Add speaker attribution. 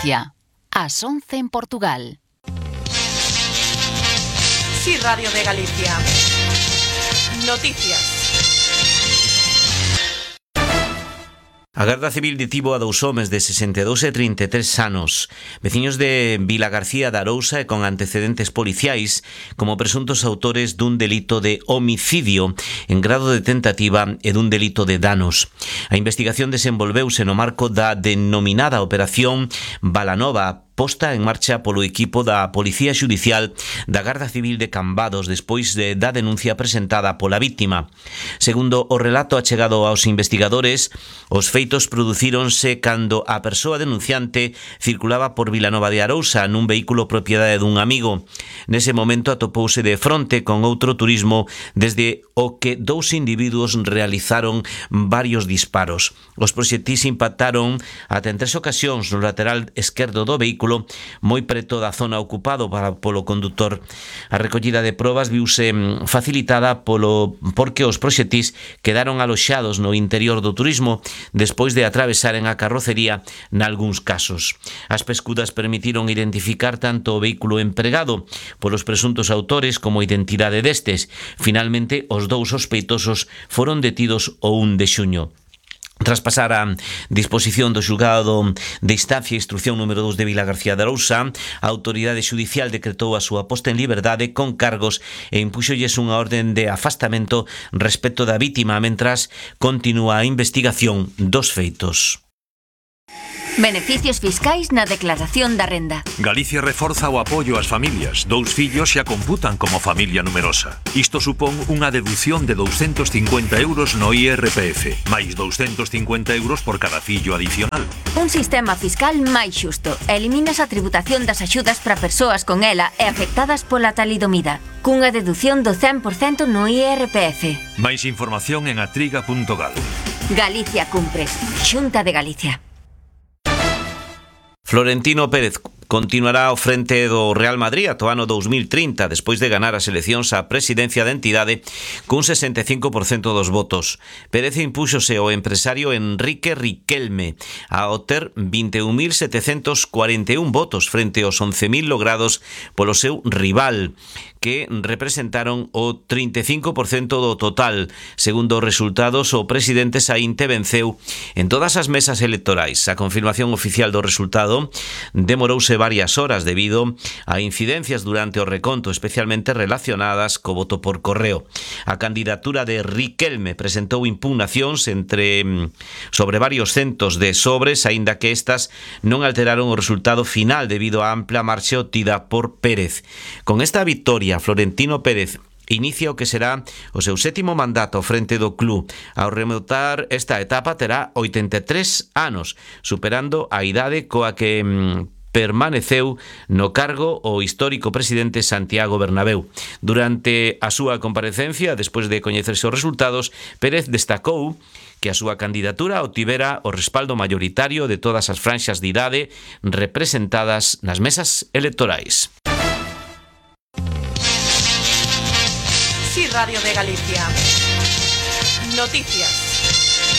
Speaker 1: Galicia. Ás 11 en Portugal.
Speaker 2: Sí, Radio de Galicia. Noticias.
Speaker 3: A Garda Civil detivo a 2 homes de 62 e 33 anos, veciños de Vilagarcía de Arousa e con antecedentes policiais como presuntos autores dun delito de homicidio en grado de tentativa e dun delito de danos. A investigación desenvolveuse no marco da denominada Operación Balanova, posta en marcha polo equipo da Policía Xudicial da Garda Civil de Cambados despois da denuncia presentada pola víctima. Segundo o relato achegado aos investigadores, os feitos producíronse cando a persoa denunciante circulaba por Vilanova de Arousa nun vehículo propiedade dun amigo. Nese momento atopouse de fronte con outro turismo desde o que 2 individuos realizaron varios disparos. Os proxectis impactaron ata en 3 ocasións no lateral esquerdo do vehículo moi preto da zona ocupado polo condutor. A recollida de probas viuse facilitada porque os proxectis quedaron aloxados no interior do turismo despois de atravesaren a carrocería nalgúns casos. As pescudas permitiron identificar tanto o vehículo empregado polos presuntos autores como a identidade destes. Finalmente, os 2 sospeitosos foron detidos o 1 de xuño. Tras pasar a disposición do xulgado de instancia e instrucción número 2 de Vilagarcía de Arousa, a autoridade xudicial decretou a súa posta en liberdade con cargos e impúxolles unha orden de afastamento respecto da vítima mentras continúa a investigación dos feitos.
Speaker 4: Beneficios fiscais na declaración da renda.
Speaker 5: Galicia reforza o apoio ás familias. 2 fillos xa computan como familia numerosa. Isto supón unha deducción de 250 euros no IRPF, máis 250 euros por cada fillo adicional.
Speaker 4: Un sistema fiscal máis xusto. Eliminas a tributación das axudas para persoas con ela e afectadas pola talidomida, cunha deducción do 100% no IRPF.
Speaker 5: Máis información en atriga.gal.
Speaker 4: Galicia cumpre. Xunta de Galicia.
Speaker 3: Florentino Pérez continuará ao frente do Real Madrid ata o ano 2030 despois de ganar as eleccións á presidencia da entidade cun 65% dos votos. Pérez impúxose ao empresario Enrique Riquelme ao ter 21.741 votos frente aos 11.000 logrados polo seu rival, que representaron o 35% do total. Segundo os resultados, o presidente saínte venceu en todas as mesas electorais. A confirmación oficial do resultado demorouse varias horas debido a incidencias durante o reconto, especialmente relacionadas co voto por correo. A candidatura de Riquelme presentou impugnacións sobre varios centos de sobres, aínda que estas non alteraron o resultado final debido á ampla marxe obtida por Pérez. Con esta victoria, Florentino Pérez inicia o que será o seu 7º mandato ao frente do club. Ao rematar esta etapa terá 83 anos, superando a idade coa que permaneceu no cargo o histórico presidente Santiago Bernabéu. Durante a súa comparecencia, despois de coñecerse os resultados, Pérez destacou que a súa candidatura obtivera o respaldo mayoritario de todas as franxas de idade representadas nas mesas electorais.
Speaker 2: Sí, Radio de Galicia. Noticias.